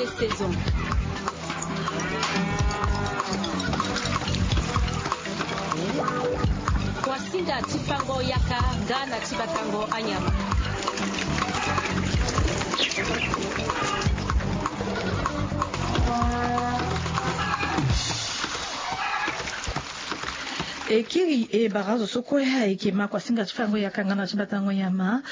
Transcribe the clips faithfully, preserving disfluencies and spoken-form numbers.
Saison. Kuasinga ti fango yaka nga na ti batango anyama. E kiri e bara azo so kue ayeke ma kuasinga ti fango yaka nga na ti batango nyama.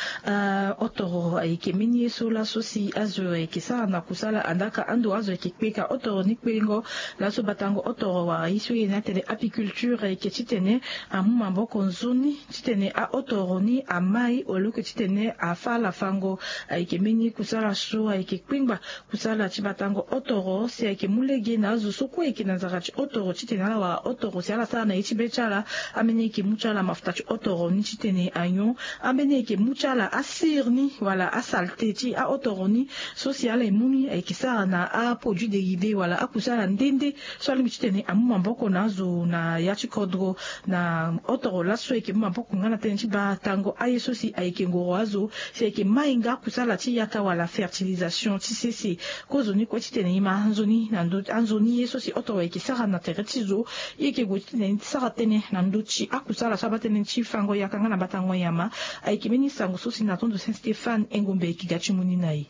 Otoro ayeke mbeni ye so laso si azo ayeke sara na kusala andaka ando azo ayeke kpeka otoro ni kpengo. Laso batango otoro wara ye so ye ni atene apiculture ayeke titene amu maboko nzoni titene aotoro ni amai oloke titene afa ala fango. Ayeke mbeni kusala so ayeke kpengba kusala ti batango otoro si ayeke mu lege na azo so kue ayeke na nzara ti otoro titene ala wara otoro si ala sara na ye ti be ti ala. Ambeni ayeke mu ti ala mafuta ti otoro ni titene anyon. Ambeni ayeke mu ti ala asir ni wala asalte ti aotoro ni so si ala ye mu ni ayeke sara na aproduit derivé wala akusala nde nde so alingbi titene amu maboko na azo na ya ti kodro. Na otoro laso ayeke mu maboko nga na tënë ti batango aye so si ayeke ngoro azo si ayeke mai nga kusala ti yaka wala fertilisation ti sese. Kozoni kue titene e ma anzoni na ndo anzoni ye so si otoro ayeke sara na tere ti zo. E yeke gue titene e sara tënë na ndö ti akusala so abatene ti fango yaka nga na batango nyama. Ayeke mbeni sango so si na tondo saint stéphane engombe ayeke ga ti mu ni na e.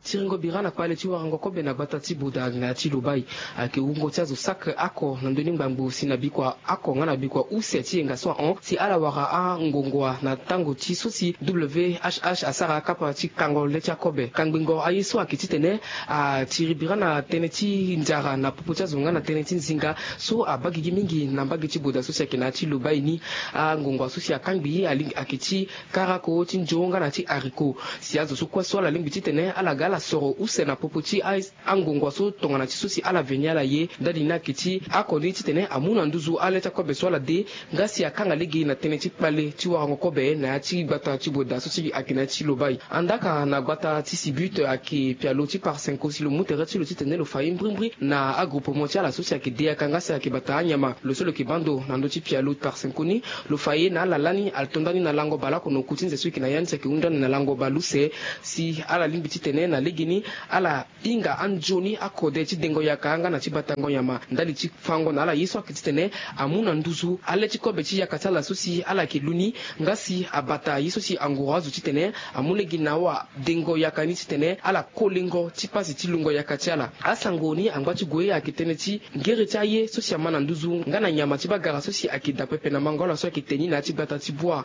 Tiringo bira na kpale ti warango kobe na gbata ti boda na ya ti lobai. Ayeke wungo ti azo sacre ako na ndoni ngbangbo si na bikua ako nga na bikua use ti yenga so ahon si ala wara angongua na tango ti so si whh asara akapa ti kango le ti akobe kangbingo aye so ayeke titene atiri bira na tënë ti nzara na popo ti azo nga na tënë ti nzinga so abaa gigi mingi na mbage ti boda so si ayeke na ya ti lobai ni. Angongua so si akangbi ayeke ti karako ti nzo nga na ti haricot. Si azo so kue so ala lingbi titene ala ga ala soro use na popo ti angongua so tongana ti so si ala veni ala ye ndali ni ayeke ti ako ni titene amu na nduzu ale ti akobe so ala de. Nga si akanga lege na tënë ti kpale ti warango kobe na ya ti gbata ti boda so si ayeke na ya ti lobai. Andaka na gbata ti sibute ayeke pialo ti parsenko si lo mu tere ti lo titene lo fa ye mbrimbri na agroupement ti ala so si ayeke de yaka nga si ayeke bata anyama lo so lo yeke bando na ndö ti pialo parsenko ni. Lo fa ye na ala lani atonda ni na lango baleoko na oku ti nze so e yeke na ya ni si ayeke hunda ni na lango baleuse. Si ala lingbi titene na legeni ala hinga anzoni akode ti dengo yaka nga na ti batango nyama ndali ti fango na ala ye so ayeke titene amu na nduzu ale ti kobe ti yaka ti ala so si ala yeke lu ni. Nga si abata ye so si angoro azo titene amu lege na awa dengo yaka ni titene ala kolengo ti pasi ti lungo yaka ti ala. Asango ni angba ti gue ayeke tënë ti ngere ti aye so si ama na nduzu nga na nyama ti bagara so si ayeke daa pepe na mango ala so ayeke te ni na ya ti gbata ti bua.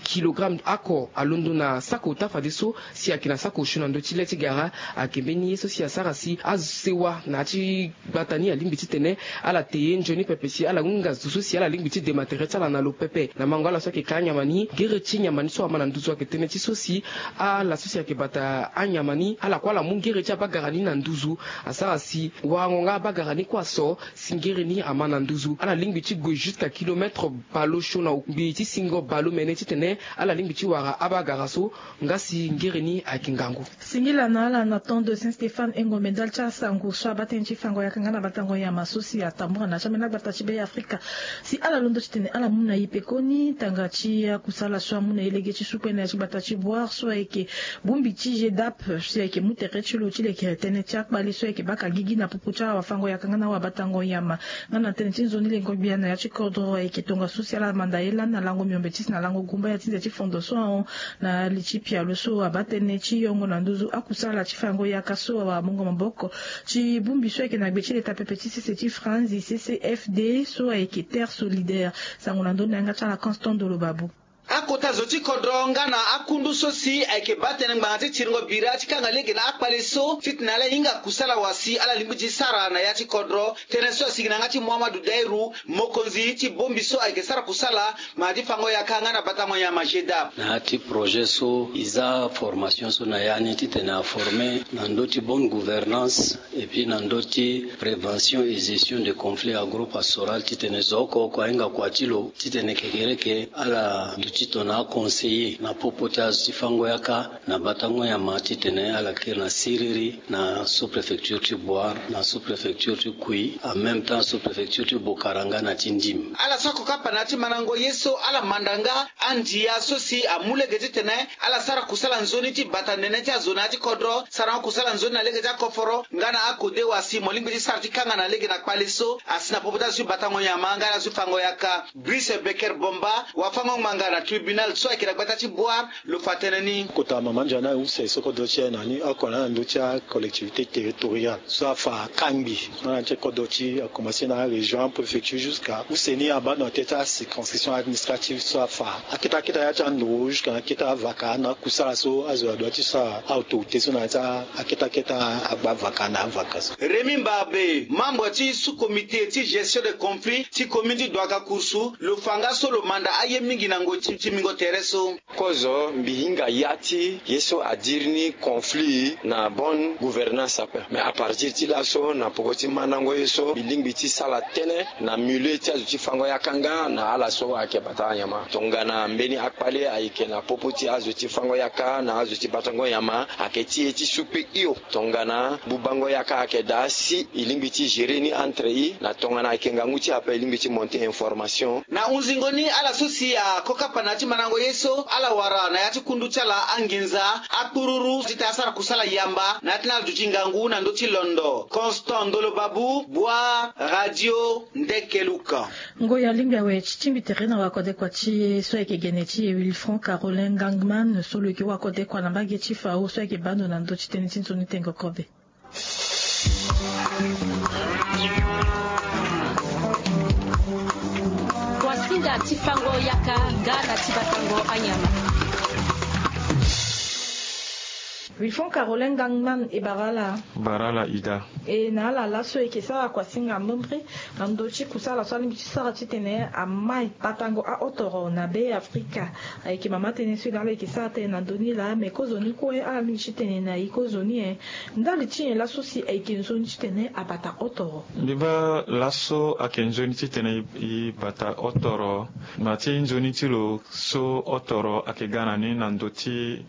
Kilogramme ako alondo na sako ota fadeso si ayeke na sako osio na ndö ti le ti gara. Ayeke mbeni ye so si asara si asewa na ya ti gbata ni alingbi titene ala te ye nzoni pepe si ala hinga zo so si ala lingbi ti dema tere ti ala na lo pepe na mango ala so ayeke ka anyama ni. Gere ti nyama ni so ama na nduzu ayeke tënë ti so si ala so si ayeke bata anyama ni ala kue ala mu ngere ti abagara ni na nduzu. Asara si warango nga abagara ni kue aso si ngere ni ama na nduzu ala lingbi ti gue jusqu'à kilomètre baleosio na ngbii ti singo baleomene titene ala lingbi ti wara abagara so. Nga si ngere ni ayeke ngangu. Singila na ala na temps de saint stéphane engombe ndali ti asango so abaa tënë ti fango yaka nga na batango nyama so si atambura na ti ambeni agbata ti be afrika. Si ala londo titene ala mu na e pekoni tanga ti akusala so amu na e lege ti supe na ya ti gbata ti boire so ayeke bongbi ti gedap si ayeke mu tere ti lo ti leke tënë ti akpale so ayeke baka gigi na popo ti awafango yaka nga na awabatango nyama. Nga na tënë ti nzoni lengo gbia na ya ti kodro ayeke tongaso si ala manda ye lani na lango miombe ti si na lango gumba ya ti nze ti fondo so ahon. Na li ti pialo so abaa tënë ti yongo na nduzu akusala ti fango yaka so awara mungo maboko ti bongbi so ayeke na gbe ti leta pepe ti sese ti franzi ccfd so ayeke terre solidaire. Sango na ndö ni na yanga ti ala constant dolo babu. Akota zo ti kodro nga na akundu so si ayeke baa tënë ngbanga ti tiringo bira ti kanga lege na akpale so titene ala hinga kusala wa si ala lingbi ti sara na ya ti kodro. Tënë so asi gi na yanga ti muhammadu dairu mokonzi ti bongbi so ayeke sara kusala ma ti fango yaka nga na batango nyama gedap. Na ya ti projet so e za formation so na ya ni titene aforme na ndö ti bonne gouvernance et puis na ndö ti prévention et gestion de conflit agro pastoral titene zo oko oko ahinga kua ti lo titene kekereke ala Titene aconseiller na popo ti azo ti fango yaka na batango nyama titene ala kiri na siriri na sous-préfecture ti Bouar, na sous-préfecture ti Kouyi, en même temps sous-préfecture ti Bokara nga na ti Ndim. Ala so akokapa na ya ti mandango ye so ala manda nga andia so si amu lege titene ala sara kusala nzoni ti bata nene ti azo na ya ti kodro, sarango kusala nzoni na lege ti akoforo nga na akodewa si mo lingbi ti sara ti kanga na lege na kpale so asi na popo ti azo ti batango nyama nga na azo ti fango yaka. Brice Becker Bomba, wafango ngbanga na tribunal so ayeke na gbata ti Bouar, lo fa tënë ni. Kota mama nzoni na use so kodro ti e na ni oko na ndö ti acollectivité territoriale so afa kangbi. Nga na ti kodro ti akomanse na arégion, apréfecture, jusqu'à use ni abaa na tënë ti acirconscription administrative so afa akete akete ya ti andoro jusqu'à na akete avaka na akusala so azo adua ti sara, autorité so na ya ti akete akete agba vaka na avaka so. Rémy Mbarbe, membre ti sous-comité ti gestion de conflit ti commune ti Douagakourou, lo fa nga so lo manda aye mingi na ngoi ti timbingo tere so. Kozo, mbi hinga ya ti ye so adiri ni conflit na bonne gouvernance ape. Mais à partir ti laso, na poko ti mandango ye so, mbi lingbi ti sala tënë na milieu ti azo ti fango yaka nga na ala so ayeke bata anyama. Tongana mbeni akpale ayeke na popo ti azo ti fango yaka na azo ti batango nyama, ayeke ti e ti su kpe hio. Tongana bubango yaka ayeke daa si e lingbi ti gérer ni entre e, na tongana ayeke ngangu ti e ape e lingbi ti monter information. Na hunzingo ni, ala so si akokapa na ya ti mandango ye so, ala wara na ya ti kundu ti ala anginza akpururu titene asara kusala yamba na ya ti ni ala duti ngangu na ndö ti londo. Constant Ndolo Babu, Bouar, Radio Ndekeluka. Ngoi alingbi awe ti tingbi tere na wakodekua ti e so ayeke gene ti e Wilfranc Carolin Gangman so lo yeke wakodekua na mbage ti fao so ayeke baa ndo na ndö ti tënë ti nzoni tengo kobe. Kuasinga ti fango yaka nga na ti batango anyama. Wilfranc Carolin Gangman, e bara ala. Bara ala ida. E na ala laso e yeke sara kuasinga mbembre na ndö ti kusala so alingbi ti sara titene amai batango ahotoro na Be Afrika. Ayeke mama tënë so e na ala e yeke sara tënë na ndö ni laa, me kozoni kue ala lingbi ti tene na e kozoni e. Ndali ti nyen laso si ayeke nzoni titene abata hotoro? Mbi baa laso ayeke nzoni titene e bata hotoro. Na ti nzoni ti lo so hotoro ayeke ga na ni na ndö ti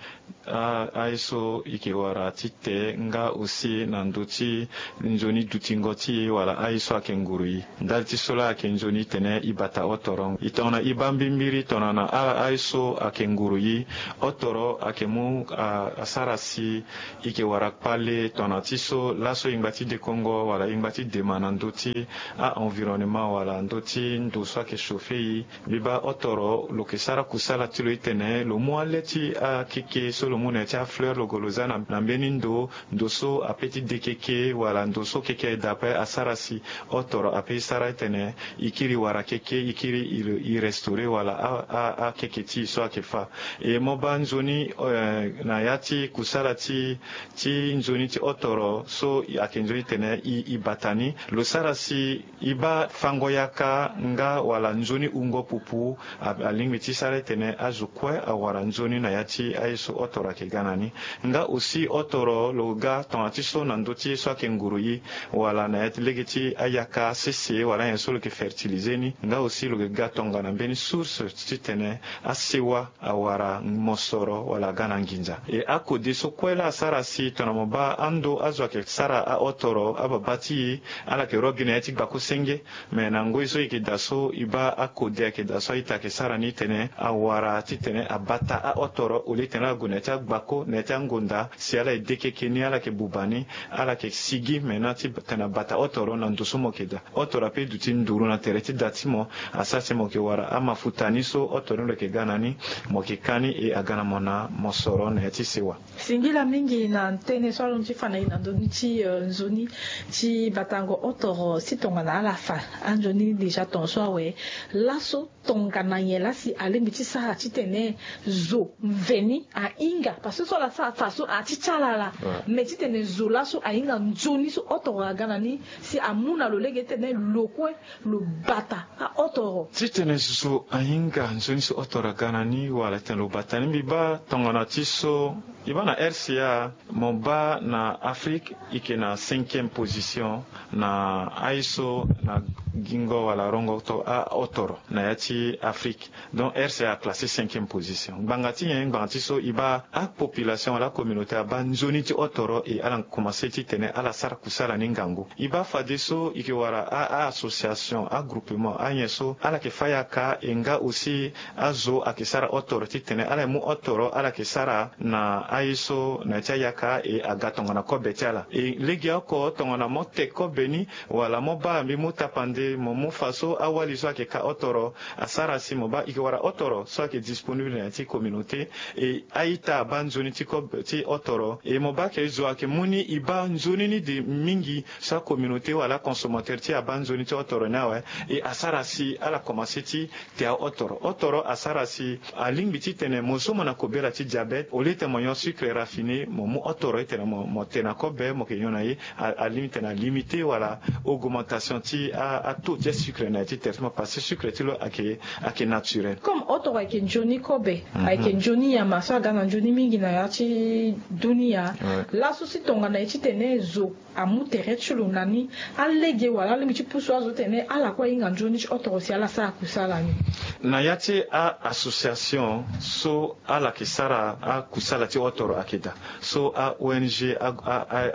a, aye so e yeke wara ti te nga aussi na ndö ti nzoni dutingo ti e wala aye so ayeke nguru e. Ndali ti so laa ayeke nzoni tene e bata hotoro. E tongana e baa mbimbiri tongana ala aye so ayeke nguru e, hotoro ayeke mu a, asara si e yeke wara kpale tongana ti so laso e ngba ti dekongo wala e ngba ti dema na ndö ti a-environnement wala ndö ti ndo so ayeke chauffer e. Mbi baa hotoro lo yeke sara kusala ti lo itene lo mu ale ti akeke so lo mu na ya ti afleur lo gue lo za na, na mbeni ndo, ndo so ape ti de keke wala ndo so keke aye daa ape asara si hotoro ape e sara itene e kiri wara keke, e kiri e, e restaurer wala a, a, akeke ti e so ayeke fâ. E mo baa nzoni, eh, na ya ti kusala ti, ti nzoni ti hotoro so ayeke nzoni tene e, e bata ni, lo sara si e baa fango yaka nga wala nzoni wungo pupu a, alingbi ti sara itene azo kue awara nzoni na ya ti aye so hotoro ayeke ga na ni. Nga aussi hotoro lo ga tongana ti so na ndö ti ye so ayeke nguru e wala na ya ti lege ti ayaka sese wala anyen so lo yeke fertiliser ni. Nga aussi lo yeke ga tongana mbeni source titene asewa awara mosoro wala aga na nginza. E akode so kue laa asara si tongana mo baa ando azo ayeke sara ahotoro ababa ti e, ala yeke ro gi na ya ti gbako senge. Me na ngoi so e yeke daa so e baa akode ayeke daa so a-ita ayeke sara ni tene awara titene abata ahotoro au lieu tene ala gue na ya ti agbako na ya ti angonda si ala ye de keke ni ala yeke buba ni, ala yeke sigi me na ti tene abata hotoro na ndo so mo yeke daa. Hotoro ape e duti nduru na tere ti da ti mo. Asara si mo yeke wara amafuta ni so hotoro ni lo yeke ga na ni, mo yeke ka ni e aga na mo na mosoro na ya ti sewa. Singila mingi na tënë so alon ti fa na e na ndö ni ti, eh, nzoni ti batango hotoro si tongana ala fa anzoni déjà tongaso awe. Laso tongana nyen laa si alingbi ti sara titene zo mveni ahinga? Parce que so ala sara fa so ati ti ala laa. Ouais. Mais titene zo laso ahinga nzoni so hotoro aga na ni si amu na lo lege titene lo kue lo bata ahotoro. Titene zo ahinga nzoni so hotoro aga na ni wala titene lo bata ni, mbi baa tongana ti so e baa na R C A, mo baa na Afrique e yeke na cinquième position na aye so na gingo wala rongo to ahotoro na ya ti ti Afrique. Donc R C A a classé cinquième position. Ngbanga ti nyen? Ngbanga ti so e baa apopulation wala acommunauté abaa nzoni ti otoro, e ala komanse titene ala sara kusala ni ngangu. E baa fadeso e yeke wara a association, agroupement, anyen so ala yeke fâ yaka, e nga aussi azo ayeke sara otoro titene ala yeke mu otoro ala yeke sara na aye so na ya ti ayaka, e aga tongana kobe ti ala. E legeoko tongana mo te kobe ni wala mo baa mbi mu tapande mo mu fa so awali so ayeke ka otoro asara si mo baa e yeke wara otoro so ayeke disponible na ya ti communauté. E a-ita abaa nzoni ti kobe ti otoro, e mo baa ke zo ayeke mu ni e baa nzoni ni de mingi so acommunauté wala aconsommateur ti e abaa nzoni ti otoro ni awe. E asara si ala komanse ti te aotoro. Otoro asara si alingbi titene mo zo mo na kobela ti diabète, au lieu tene mo nyon sucre raffiné, mo mu otoro titene mo te na kobe mo yeke nyon na ye. Alingbi titene alimité wala augmentation ti ataux ti asucre na ya ti terre ti mo, parce que sucre ti lo ayeke naturel. Comme otoro ayeke nzoni kobe, ayeke nzoni nyama so aga na nzoni mingi na ya ti dunia. Laso si tongana ye titene zo amu tere ti lo na ni, alege wala alingbi ti pusu azo titene ala kue ahinga nzoni ti otoro si ala sara kusala ni? Na ya ti a-association so ala yeke sara akusala ti otoro ayeke daa. So a-ong,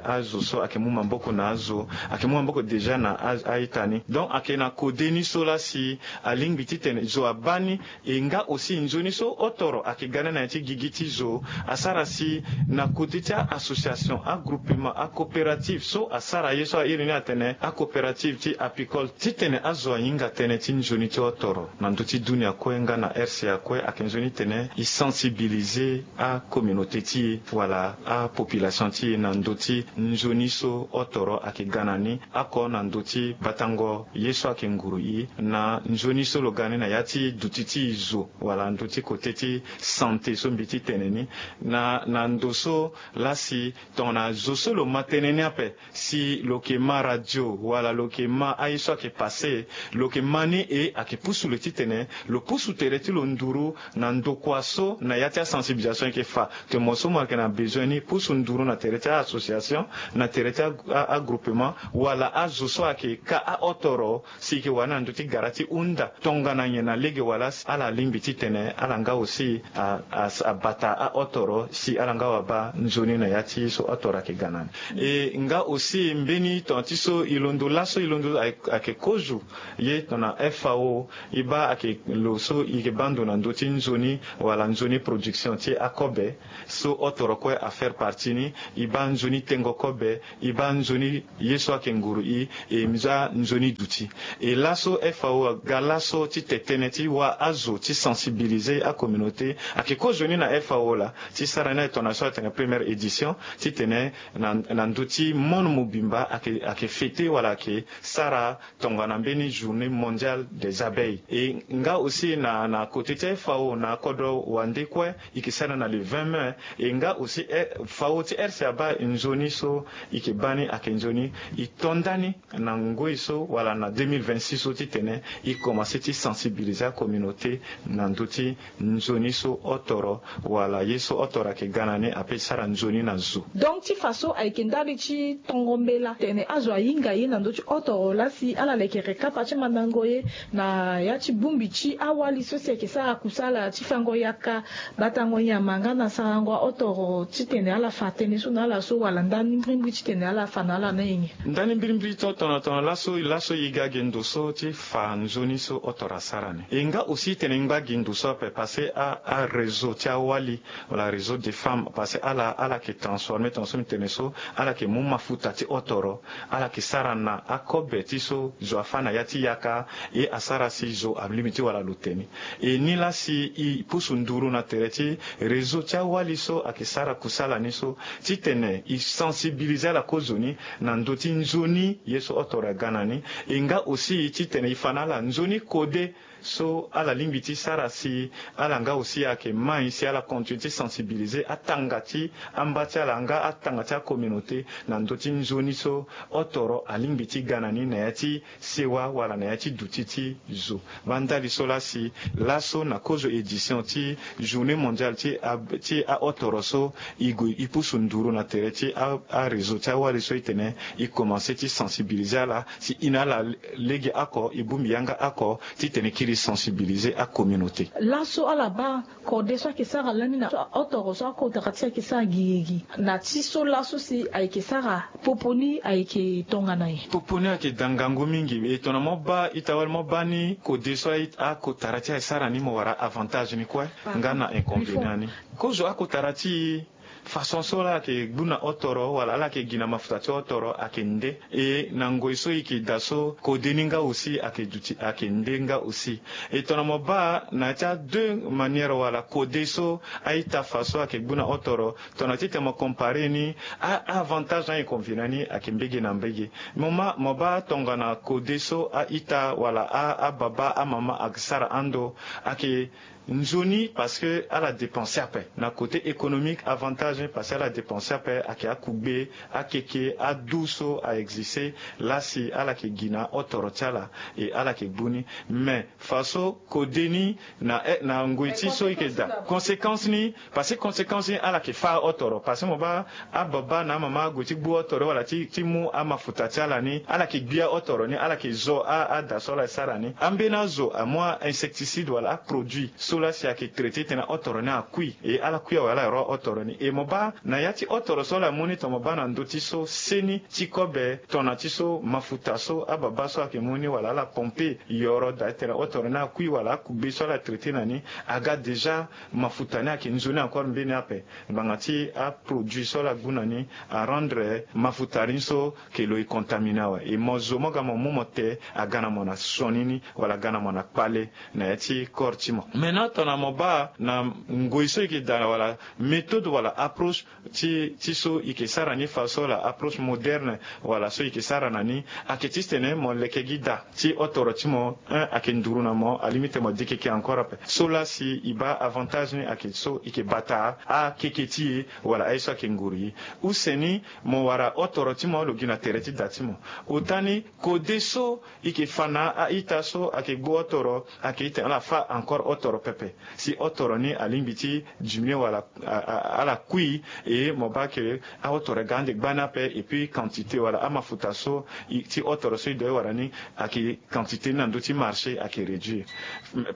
azo so ayeke mu maboko na azo, ayeke mu maboko déjà na a-ita ni. Donc ayeke na kode ni so laa si alingbi titene zo abaa ni. E nga aussi nzoni so otoro ayeke ga ni na ya ti gigi ti zo asara si na kode ti a-association, agroupement, acoopérative so asara ye so a iri ni atene acoopérative ti apicole, titene azo ahinga tënë ti nzoni ti otoro na ndö ti dunia kue nga na R C A kue, ayeke nzoni titene e sensibiliser acommunauté ti e wala apopulation ti e na ndö ti nzoni so otoro ayeke ga na ni oko na ndö ti batango ye so ayeke nguru e na nzoni so lo ga ni na ya ti duti ti e zo wala ndö ti kote ti santé so mbi ti tene ni. Na na ndo so laa si tongana zo so lo ma tënë ni ape, si lo yeke ma radio wala lo yeke ma aye so ayeke passé, lo yeke ma ni e ayeke pusu lo titene lo pusu tere ti lo nduru na ndokua so na ya ti asensibilisation e yeke fa. Te mo so mo yeke na besoin ni pusu nduru na tere ti a-association, na tere ti agroupement wala azo so ayeke ka aotoro, si e yeke wara ni na ndö ti gara ti hunda tongana nyen na lege wala si ala lingbi titene ala nga aussi abata aotoro si ala nga wabaa nzoni na ya ti so otoro ayeke ga na ni. E nga aussi mbeni tongana ti so e londo laso e londo ayeke kozo ye tongana F A O. E baa ayeke lo so e yeke baa ndo na ndö ti nzoni wala nzoni production ti akobe so otoro kue afaire partie ni. E baa nzoni tengo kobe, e baa nzoni ye so ayeke nguru e, e za nzoni duti. E laso F A O aga laso ti te tënë ti wâ azo ti sensibiliser acommunauté. Ayeke kozoni na F A O laa ti sara ni aye tongana so atene première édition titene na ndö ti monde mobimba ayeke fêter wala ayeke sara tongana mbeni journée mondiale des abeilles. E nga aussi na na côté ti F A O na kodro wande kue e yeke sara na le vingt mai. E nga aussi F A O ti R C A baa nzoni so e yeke baa ni ayeke nzoni e to ndani na ngoi so wala na deux mille vingt-six so titene e komanse ti sensibiliser acommunauté na ndö ti nzoni so otoro wala ye so otoro ayeke ga na ni ape ti sara nzoni na zo. Donc ti fa so ayeke ndali ti tongo mbela tene azo ahinga ye na ndö ti otoro laa si ala leke yeke kapa ti mandango ye na ya ti bongbi ti awali so si ayeke sara kusala ti fango yaka, batango nyama nga na sarango aotoro titene ala fa tënë so na ala so wala ndani mbirimbiri titene ala fa na ala na e nyen? Ndani mbirimbiri ti tongana tongana laso laso e ga ge ndo so ti fa nzoni so otoro asara ni. E nga aussi tene e ngba gi ndo so ape parce que a aréseau ti awali wala réseau des femmes parce que ala ala yeke transformer tongana so mbi tene so, ala yeke mu mafuta ti otoro, ala yeke sara na akobe ti so zo afâ na ya ti yaka. E asara si zo alingbi ti wara lo te ni. E nilaa si e pusu nduru na tere ti réseau ti awali so ayeke sara kusala ni so titene e sensibiliser ala kozoni na ndö ti nzoni ye so otoro aga na ni. E nga aussi titene e fa na ala nzoni kode so ala lingbi ti sara si ala nga aussi ayeke mai si ala continue ti sensibiliser atanga ti amba ti ala nga atanga ti acommunauté na ndö ti nzoni so otoro alingbi ti ga na ni na ya ti sewa wala na ya ti duti ti zo. Baa ndali so laa si laso na kozo édition ti journée mondiale ti a ti aotoro so e gue e pusu nduru na tere ti aréseau ti awali so e tene e komanse ti sensibiliser ala si e na ala lege oko e bongbi yanga oko titene kiri e sensibiliser acommunauté. Laso ala baa kode so ayeke sara lani na otoro so akotara ti ayeke sara gigigi na ti so laso si ayeke sara popo ni ayeke tongana nyen? Popo ni ayeke da ngangu mingi. E tongana mo baa ita wali mo baa ni kode so akotara ti ayeke sara ni mo wara avantage ni kue nga na inconvénient ni. Kozo akotara ti façon so ala yeke gbu na otoro wala ala yeke gi na mafuta ti otoro ayeke nde. E na ngoi so e yeke daa so kode ni nga aussi ayeke duti ayeke nde nga aussi. E tongana mo baa na ya ti adeux manière wala kode so a-ita fa so ayeke gbu na otoro, tongana titene mo comparer ni, a-avantage na inconvénient ni ayeke mbege na mbege. Mo ma mo baa tongana kode so a-ita wala ababa amama ayeke sara ando ayeke nzoni parce que ala dépenser ape na côté économique avantage ni parce que ala dépenser ape ayeke akugbe, akeke adu so a-existe. Lasi ala yeke gi na otoro ti ala e ala yeke gbu ni. Mais façon kode ni na ngoi ti so e yeke daa conséquence ni, parce que conséquence ni ala yeke fâ otoro parce que mo baa ababa na amama ague ti gbu otoro wala ti mu amafuta ti ala ni ala yeke gbia otoro ni ala yeke zo ada so ala sara ni ambeni azo amu a-insecticide wala aproduit so lasi ayeke traiter titene otoro ni akui e ala kui awe ala ro otoro ni e mo baa na ya ti otoro so ala mu ni tongana mo baa na ndö ti so seni ti kobe tongana ti so mafuta so ababa so ayeke mu ni wala ala pompe yoro daa titene otoro ni akui wala akugbe so ala traiter na ni aga déjà mafuta ni ayeke nzoni encore mbeni ape. Ngbanga ti aproduit so ala gbu na ni arendre mafuta ni so ke lo e contaminer awe e mo zo mo ga mo mu mo te aga na mo na sioni ni wala aga na mo na kpale na ya ti corps ti mo. Maintenant tongana mo baa na ngoi so e yeke daa wala méthode wala approche ti so e yeke sara ni façon wala approche moderne wala so e yeke sara na ni ayeke ti titene mo leke gi daa ti otoro ti mo un ayeke nduru na mo alingbi titene mo dikeke encore ape. So lasi e baa avantage ni ayeke so e yeke bata akeke ti e wala aye so ayeke nguru e. Use ni mo wara otoro ti mo lo gi na tere ti da ti mo. Ota ni kode so e yeke fa na a-ita so ayeke gbu otoro ayeke titene ala fâ encore otoro pepe si otoro ni alingbi ti diminuer wala ala kui. E mo baa ke aotoro ga ande gbani ape et puis quantité wala amafuta so ti otoro so e doit e wara ni ayeke quantité ni na ndö ti marché ayeke réduire.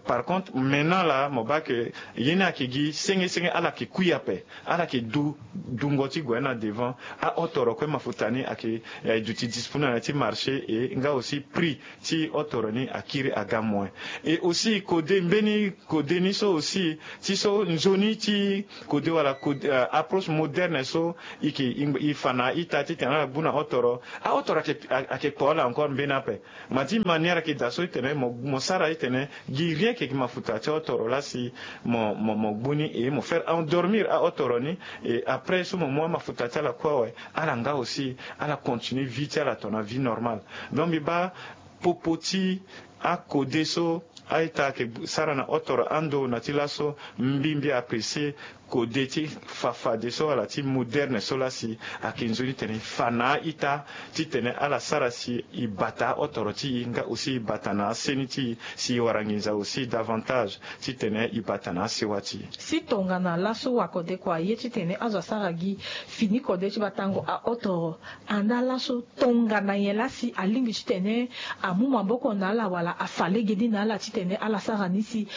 Par contre maintenant laa mo baa ke ye ni ayeke gi senge senge ala yeke kui ape ala yeke du dungo ti gue na devant. Aotoro kue mafuta ni ayeke duti disponible na ya ti marché e nga aussi prix ti otoro ni akiri aga moins. Et aussi kode mbeni kode ni so aussi ti so nzoni ti kode wala kode approche moderne so e yeke e fa na a-ita titene ala gbu na otoro. Aotoro ayeke kpo ala encore mbeni ape. Ma ti manière ayeke daa so titene mo sara titene gi rien ke gi mafuta ti otoro lasi mo mo gbu ni e mo faire endormir aotoro ni. Et après so mo mu amafuta ti ala kue awe ala nga aussi ala continue vie ti ala tongana vie normale. Donc mbi baa popo ti akode so a-ita ayeke sara na otoro ando na ti laso mbi mbi apprécier kode ti fa fade so wala ti moderne so lasi ayeke nzoni titene e fa na a-ita titene ala sara si e bata otoro ti e nga aussi e bata na aseni ti e si e wara nginza aussi davantage titene e bata na asewa ti e. Si tongana laso wakode kua aye titene azo asara gi fini kode ti batango aotoro anda laso tongana nyen lasi alingbi titene amu maboko na ala wala afa legeni na ala titene ala sara ni si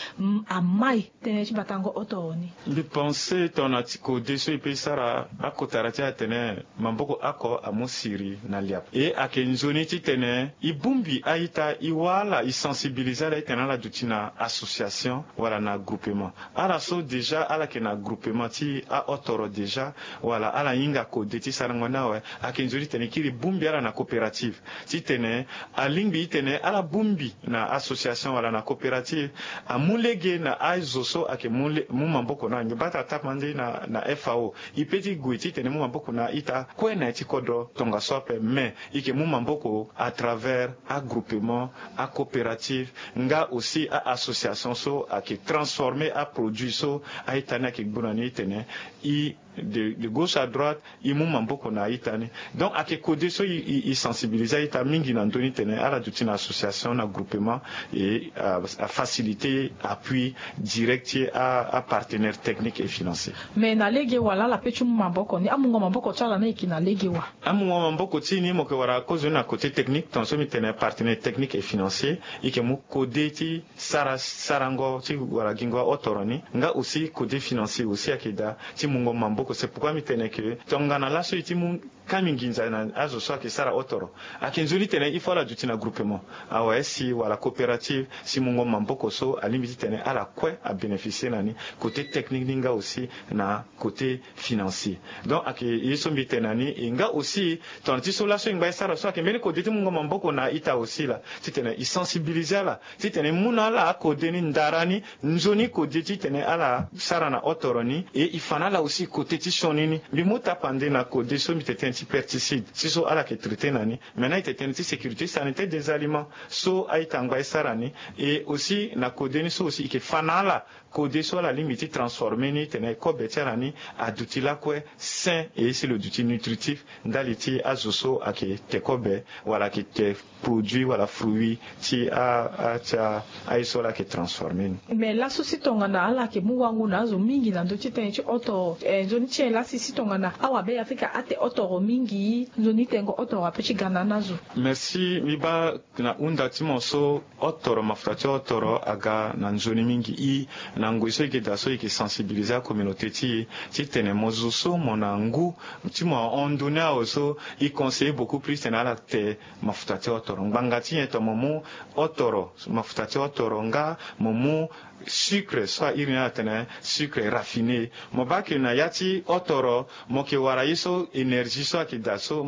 amai tënë ti batango otoro ni? Mbi pense tongana ti kode so e pe e sara akotara ti atene maboko oko amu siri na liapo e ayeke nzoni titene e bongbi a-ita e wâ ala e sensibiliser ala titene ala duti na association wala na groupement. Ala so déjà ala yeke na groupement ti aotoro déjà wala ala hinga kode ti sarango ni awe ayeke nzoni titene e kiri bongbi ala na coopérative titene alingbi titene ala bongbi na association wala na coopérative amu lege na azo so ayeke mu maboko na ala. Mbi baa tara tapande na fao e pe ti gue titene e mu maboko na a-ita kue na ya ti kodro tongaso ape mais e yeke mu maboko à travers agroupement, acoopérative nga aussi a-association so ayeke transformer aproduit so a-ita ni ayeke gbu na ni titene e De gauche à droite, e mu maboko na a-ita ni. Donc ayeke kode so e sensibiliser a-ita mingi na ndö ni tene ala duti na association, na groupement, e afaciliter appui direct ti apartenaire technique et financier. Mais na lege wa laa ala pe ti mu maboko ni, amungo maboko ti ala ni ayeke na lege wa? Amungo maboko ti e ni mo yeke wara kozo ni na côté technique, tonga so mbi tene partenaire technique et financier, e yeke mu kode ti sara sarango ti wara gingo aotoro ni, nga aussi kode financier aussi ayeke daa ti mungo maboko. C'est pourquoi mbi tene ke tongana laso e ti mu kami nginza na azo so ayeke sara otoro, ayeke nzoni tene il faut ala duti na groupement, awa si wala coopérative, si mungo maboko so alingbi titene ala kue abénéficier na ni, côté technique ni nga aussi na côté financier. Donc ayeke ye so mbi tene na ni. E nga aussi tongana ti so laso e ngba e sara so ayeke mbeni kode ti mungo maboko na a-ita aussi laa, titene e sensibiliser ala titene e mu na ala akode ni ndara ni, nzoni kode titene ala sara na otoro ni. E e fa na ala aussi côté ti sioni ni. Mbi mu tapande na kode so mbi tene ti pesticide, si so ala yeke traiter na ni. Maintenant e tene ti sécurité sanitaire des aliments so a-ita angba e sara ni. E aussi na kode ni so aussi e yeke fa na ala kode so ala lingbi ti transformer ni titene kobe ti ala ni aduti lakue sain, e si lo duti nutritif ndali ti azo so ayeke te kobe wala ayeke te produit wala fruit ti a, a, ti a, aye so ala yeke transformer ni. Mais laso si tongana ala yeke mu wango na azo mingi na ndö ti tënë ti otoro, eh, nzoni ti nyen lasi si tongana awabe afrika ate otoro mingi, nzoni tengo otoro ape ti ga na ni azo? Merci. Mbi baa na hunda ti mo so, otoro, mafuta ti otoro aga na nzoni mingi. I na ngoi so e yeke daa so e yeke sensibiliser acommunauté ti e titene mo zo so mo na ngu ti mo ahon ndoni awe so, e conseiller beaucoup plus titene ala te mafuta ti otoro. Ngbanga ti nyen? Tongana mo mu otoro, mafuta ti otoro, nga mo mu sucre so a iri ni ala tene sucre raffiné. Mo baa ke na ya ti otoro mo yeke wara ye so énergie so ayeke daa so,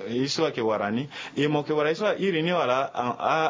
ye so ayeke wara ni. E mo yeke wara ye so a iri ni wala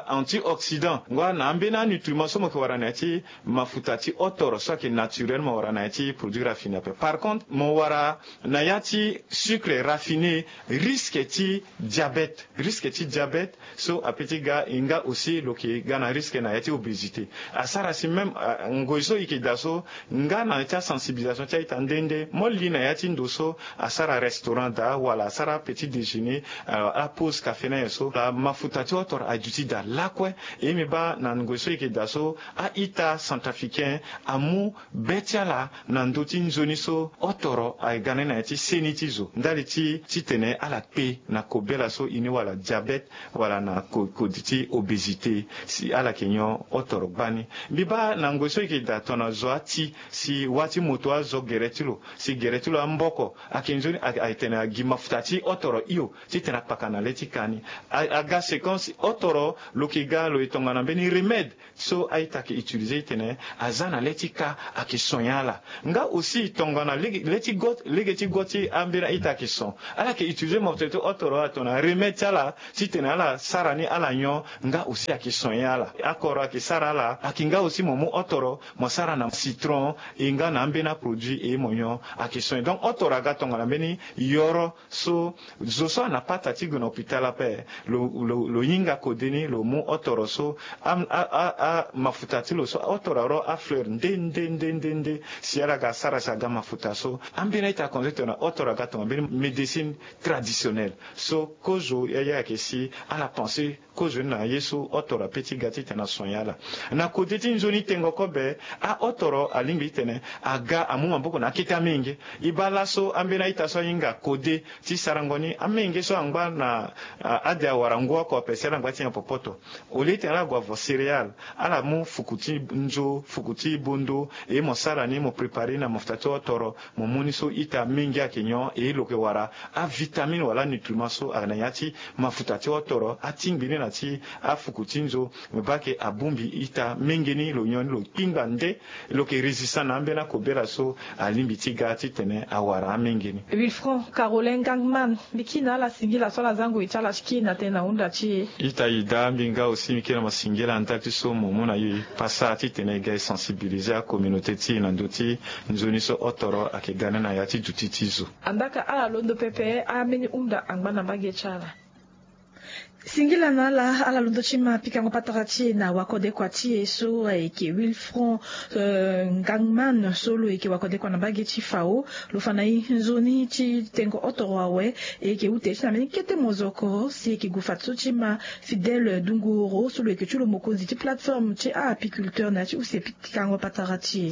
antioxydant, ngoi na ambeni anutriment so mo yeke wara na ya ti mafuta ti otoro so ayeke naturel, mo wara na ya ti produit raffiné ape. Par contre mo wara na ya ti sucre raffiné, risque ti diabète, risque ti diabète so ape ti ga. E nga aussi lo yeke ga na risque na ya ti obésité. Asara si même ngoi so e yeke daa so, nga na ya ti asensibilisation ti a-ita nde nde mo li na ya ti ndo so asara restaurant daa wala asara petit déjeuner, apose café na nyen so, mafuta ti otoro aduti daa lakue. E mbi baa na ngoi so e yeke daa so, a-ita centrafricain amu be ti ala na ndö ti nzoni so otoro aga ni na ya ti seni ti zo ndali ti titene ala kpe na kobela so e ni wala diabète wala na kodi ti obésité, si ala yeke nyon otoro gbani. Mbi baa na ngoi so e yeke daa tongana zo ati, si wâ ti moto azo gere ti lo, si gere ti lo amboko, ayeke nzoni atene agi mafuta ti otoro hio titene akpaka na le ti ka ni. Aga séquence otoro lo yeke ga lo e tongana mbeni remède so a-ita ayeke utiliser titene aza na le ti ka ayeke soigner ala. Nga aussi tongana lege ti go ti ambeni a-ita ayeke son, ala yeke utiliser mafuta ti otoro ala tongana remède ti ala titene ala sara ni ala nyon, nga aussi ayeke soigner ala. Akoro ayeke sara ala, ayeke nga aussi mo mu otoro mo sara na citron, e nga na ambeni aproduit e mo nyon, ayeke soigner. Donc otoro aga tongana mbeni yoro so zo so ana pata ti gue na hôpital ape, lo hinga kode ni lo mu otoro so, amafuta ti lo so otoro aro afleur nde nde nde nde nde, si ala ga sara si aga mafuta so. Ambeni a-ita akonze tongana otoro aga tongana mbeni médecine traditionnelle so kozo ya ayeke si ala pense kozo ni na ye so otoro ape ti ga titene asoigner ala. Na kode ti nzoni tengo kobe, aotoro alingbi titene aga amu maboko na akete amenge. E baa laso ambeni a-ita so ahinga kode ti sarango ni, amenge so angba na ade awara ngu oko ape si ala ngba ti nyen popoto. Au lieu titene ala gue avo céréale, ala mu fuku ti nzo, fuku ti bondo, e mo sara ni mo préparer ni na mafuta ti otoro, mo mu ni so ita mingi ayeke nyon, e lo yeke wara avitamine wala anutriment so ayeke na ya ti mafuta ti otoro, atingbi ni na ti afuku ti nzo. Mo baa ke abongbi ita mingi ni, lo nyon ni lo kpingba nde, lo yeke résistant na ambeni akobela so alingbi ti ga titene awara amenge ni. Wilfron Caroline Gangman, mbi kiri na ala singila so ala za ngoi ti ala ti kiri na tënë na hunda ti e. Ita e daa, mbi nga aussi mbi kiri na mo singila ndali ti so mo mu na e pasa titene e ga e sensibiliser acommunauté ti e na ndö ti nzoni so otoro ayeke ga ni na ya ti duti ti zo. Andaa ka ala londo pepe, ambeni hunda angba na mbage ti ala. Singila na ala ala londo ti ma pikango patara ti e na wakodekua ti e so ayeke Wilfron Ngangman so lo yeke wakodekua na mbage ti Fao. Lo fa na e nzoni ti tengo otoro awe. E yeke ute ti na mbeni kete mozoko si e yeke gue fadeso ti ma Fidèle Dunguru so lo yeke ti lo mokonzi ti plateforme ti aapiculteur na ya ti use pikango patara ti e.